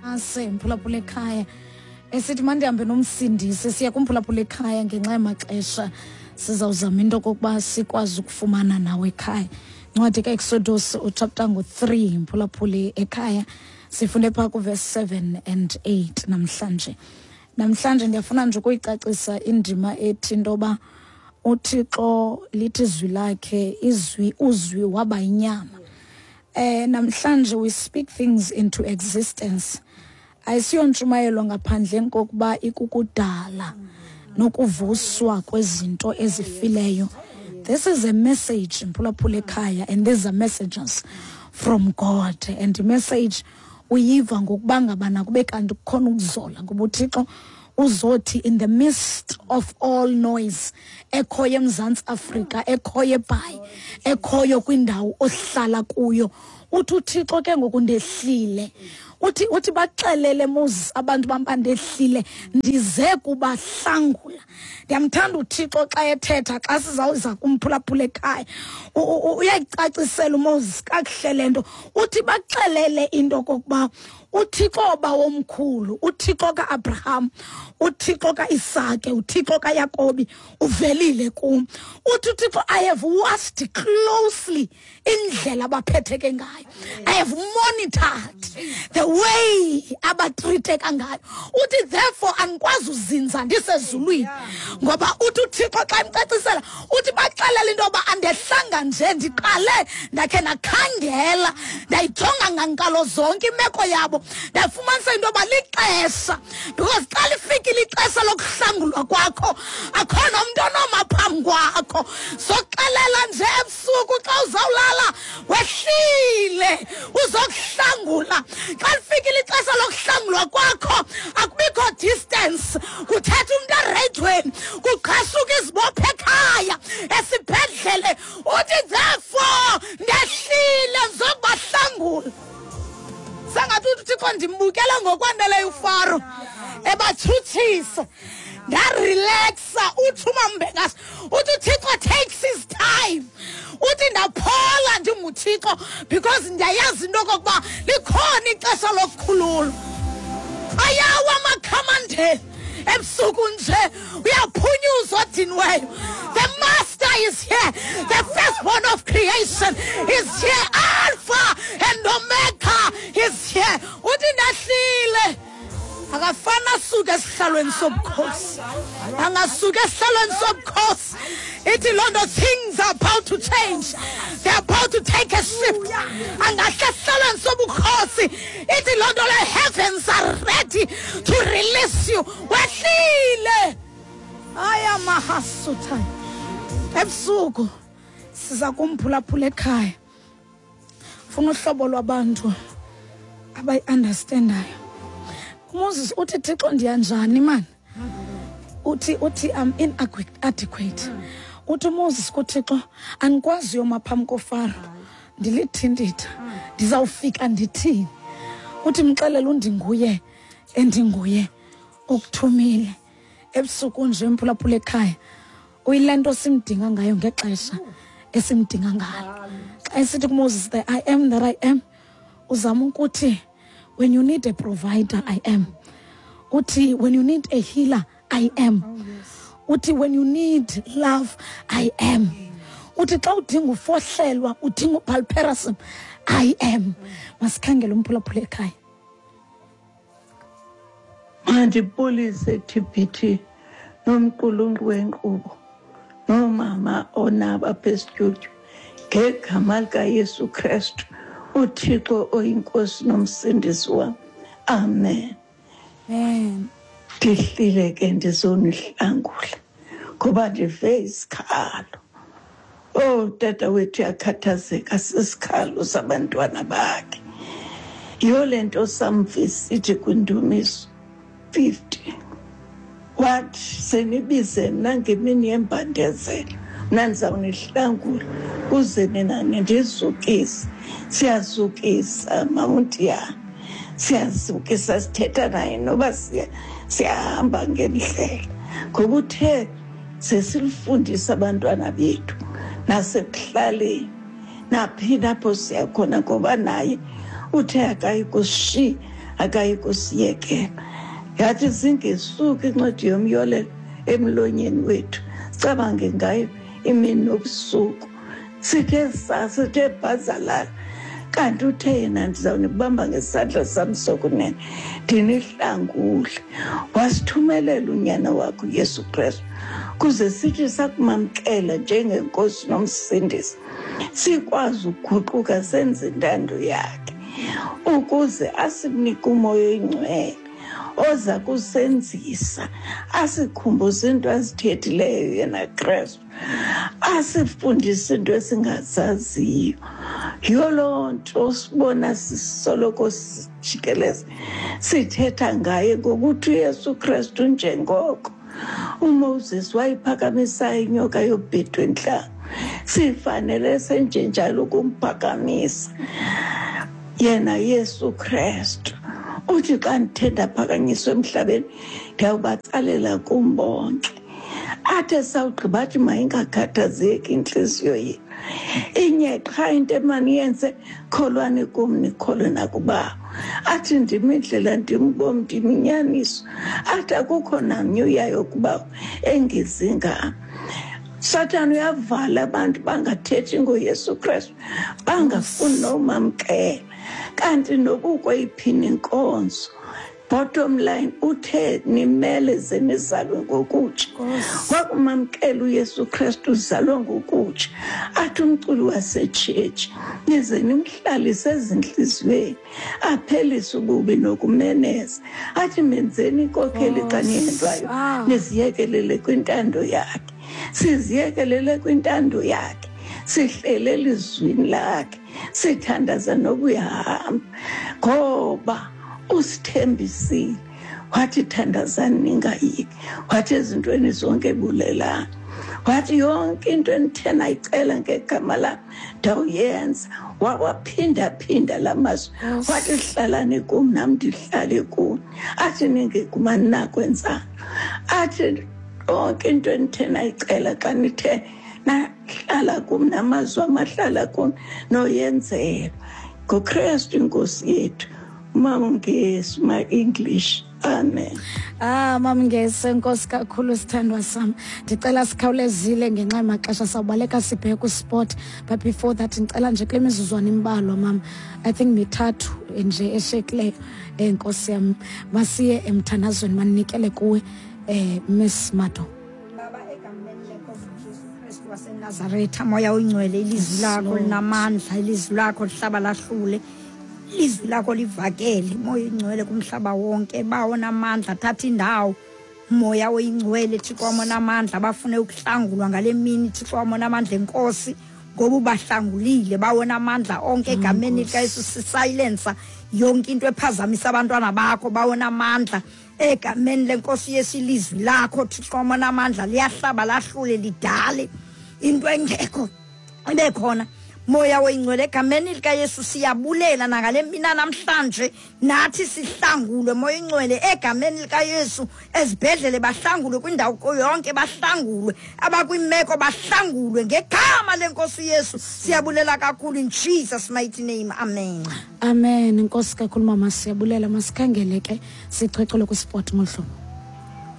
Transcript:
Ase mphulaphula ekhaya esithi mandihambe nomsindisi siya kumphulaphula ekhaya ngenxa yamaxesha sizawuzama into okokuba sikwazi ukufumana nawe ekhaya. Incwadi kaExodus uchapter ngo-3 mphulaphuli ekhaya sifunde phaa kuvesi 7 and 8 namhlanje. Namhlanje ndiyafuna nje ukuyicacisa indima ethi into yoba uThixo lithi izwi lakhe izwi uzwi waba yinyama. Eh namhlanje we speak things into existence. Ayisiyontshumayelo ngaphandle kokuba ikukudala nokuvuswa kwezinto ezifileyo. This is a message mphulaphula ekhaya and these are messages from God and the message uyiva ngokuba ngabana kube kanti kukhona ukuzola ngoba uThixo uzothi in the midst of all noise ekhoyo eMzantsi Afrika ekhoyo eBhayi ekhoyo kwindawo ohlala kuyo uthi uThixo ke ngoku ndehlile uthi uthi baxelele Moses abantu bam bandehlile ndize kubahlangula ndiyamthanda uThixo xa ethetha xa sizawuza kumphulaphula ekhaya uyayicacisela uMoses kakuhle le nto uthi baxelele into kokuba uThixo obawomkhulu uThixo kaAbraham uThixo kaIsake uThixo kaYakobi uvelile kum uthi uThixo I have watched closely indlela abaphetheke ngayo I have monitored the way abatriteka ngayo uthi therefore andikwazi uzinza ndisezulwini ngoba uthi uThixo xa emcacisela uthi baxelela into yoba andehlanga nje ndiqale ndakhe ndakhangela ndayijonga ngankalo zonke imeko yabo ndafumanisa into yoba lixesha because xa lifikile ixesha lokuhlangulwa kwakho akho nomntu onoma phambi kwakho soxelela nje ebusuku xa uzawulala wehlile uzokuhlangula xa lifikile ixesha lokuhlangulwa kwakho akubikho distance kuthetha umntu ereyidweni kuqhasuka izibopho ekhaya esibhedlele uthi therefore ndehlile ndizokubahlangula sengathi uthi uthixo ndimbukele ngokwaneleyo ufaro ebatshutshisa ndarelaxa uthi umambekasi uthi uthixo takes his time uthi ndaphola ndinguthixo because ndiyayazi into yokokuba likhona ixesha lokukhululwa ayawa amakhamandela ebusuku nje uyaphunyuzwa odiniweyo the master is here the firstborn of creation is here alpha and omega is here uthi ndahlile akafana asuke esihlalweni sobukhosi angasuka esihlalweni sobukhosi ithi loo nto things are about to change they're about to take a shift angahla esihlalweni sobukhosi ithi loo nto le heavens are ready to release you wehlile ayamahasutha ebusuku siza kumphulaphula ekhaya funa uhlobo lwabantu abayi-understandayo umoses uthi thixo ndiyanjani mani uthi uthi i'm inadequate uthi umoses kuthixo andikwazi uyoma phambi kofaro ndilithintitha ndizawufika ndithini uthi mxelele undinguye endinguye ukuthumile ebusuku nje mphulaphula ekhaya uyile nto simdinga ngayo ngexesha esimdinga ngalo xa esithi kumoses the I am that I am uzama ukuthi when you need a provider I am uthi when you need a healer I am uthi when you need love I am uthi xa udinga ufohlelwa udinga ubhalperasim I am masikhangele umphulaphula ekhaya Mandibulise TBT nomqulunqi wenkqubo noomama onaba apha estudio ngegama likaYesu Krestu uThixo oyinkosi nomsindisi wam. Amen. Amen. Ndihlile ke ndizonihlangula ngoba ndive isikhalo. Oh tata wethu uyakhathazeka sisikhalo sabantwana bakhe. Yiyo le nto samvisithi kwindumiso 50. Wathi senibize mna ngemini yembandezelo, mna ndizawunihlangula kuze nina nindizukise. Siyazukisa mawuntiyana, siyazukisa sithetha naye noba siyahamba ngendlela ngoba uthe ze silifundise abantwana bethu nasekuhlaleni naphi napho siya khona ngoba naye uthe akayi kusishiya Akayi kusiyekela. Yathi singesuki incwadi yomyolelo emlonyeni wethu, sicabange ngayo imini nobusuku, sithe sa, sithe bhazalala. Kanti uthe yena, ndizawunibamba ngesandla sam sokunene, ndinihlangule. Wasithumelela unyana wakhe uYesu Kristu, kuze sithi sakumamkela njengenkosi nomsindisi, sikwazi ukuguquka senze intando yakhe, ukuze asinike uMoya oyiNgcwele oza kusenzisa, asikhumbuze into azithethileyo yena Kristu, asifundise into esingazaziyo. Yiyo loo nto sibona sisoloko sijikeleza sithetha ngaye ngokuthi uYesu Kristu, njengoko uMoses wayiphakamisa inyoka yobhedu entlango, sifanele senjenjalo ukumphakamisa yena Yesu Kristu. Uthi xa ndithe ndaphakanyiswa emhlabeni, ndiyawubatsalela kum bonke. Athe sawugqiba athi mayingakhathazeki intliziyo yenu, inye qha into emaniyenze, kholwani kum, nikholwe nakubawo. Athi ndim indlela, ndim ubomi, ndim inyaniso. Athi akukho namnye uyayo kubawo engezi ngam. Sathane uyavala abantu bangathethi ngoYesu Kristu, bangafuni nomamkela. Kanti nobukweyiphi inkonzo, bottom line uthe nimele ze nizalwe ngokutsha. Wakumamkela uYesu Kristu, uzalwe ngokutsha. Athi umculi wasetshetshi, nize nimhlalise ezintliziyweni, aphelise ububi nokumeneza. Athi menzeni inkokheli xa nihendwayo, niziyekelele kwintando yakhe. Siziyekelele kwintando yakhe, sihlele elizwini lakhe, sithandaza nokuyahamba, ngoba usithembisile. Wathi thandazani ningayiki, wathi ezintweni zonke bulelani, wathi yonke into enithe nayicela ngegama lam ndawuyenza. Wawaphinda-phinda la mazwi, wathi hlalani kum nam ndihlale kuni. Athi ningekumani nakwenzani. Athi yonke into enithe nayicela xa nithe nahlala kum, namazwi amahlala kum, noyenzelwa ngoKristu inkosi yethu. Mama Ngesi, my English. Amen. Mama Ngesi, enkosi kakhulu sithandwa sam. Ndicela sikhawulezile ngenxa yamaxesha, sawubaleka sibheke kwisport, but before that ndicela nje kule mizuzwana imbalwa, mama, I think mithathu nje eshekileyo, enkosi yam, masiye emthandazweni. Maninikele kuwe, Miss Mado. Baba, egameni lenkosi uJesu Kristu waseNazaretha, Moya oyingcwele, ilizwi lakho linamandla, ilizwi lakho lihlaba lahlule, ilizwi lakho livakele, Moya oyingcwele, kumhlaba wonke. Bawo namandla, thatha indawo, Moya oyingcwele, Thixo wam onamandla. Bafune ukuhlangulwa ngale mini, Thixo wam onamandla, enkosi ngoba ubahlangulile, bawona amandla onke. Egameni likaYesu sisayilensa yonke into ephazamisa abantwana bakho, bawona amandla. Egameni lenkosi Yesu, ilizwi lakho, Thixo wam onamandla, liyahlaba lahlule, lidale into engekho ibe khona. Moya oyingcwele, egameni likaYesu siyabulela nangale mina namhlanje, nathi sihlangulwe, Moya oyingcwele, egameni likaYesu. Ezibhedlele bahlangulwe, kwindawo yonke bahlangulwe, abakwimeko bahlangulwe ngegama lenkosi Yesu. Siyabulela kakhulu, in Jesus mighty name, amen. Amen. Inkosi kakhulu mama, siyabulela. Masikhangele ke sichwechwele kwisport ngolu hlobo.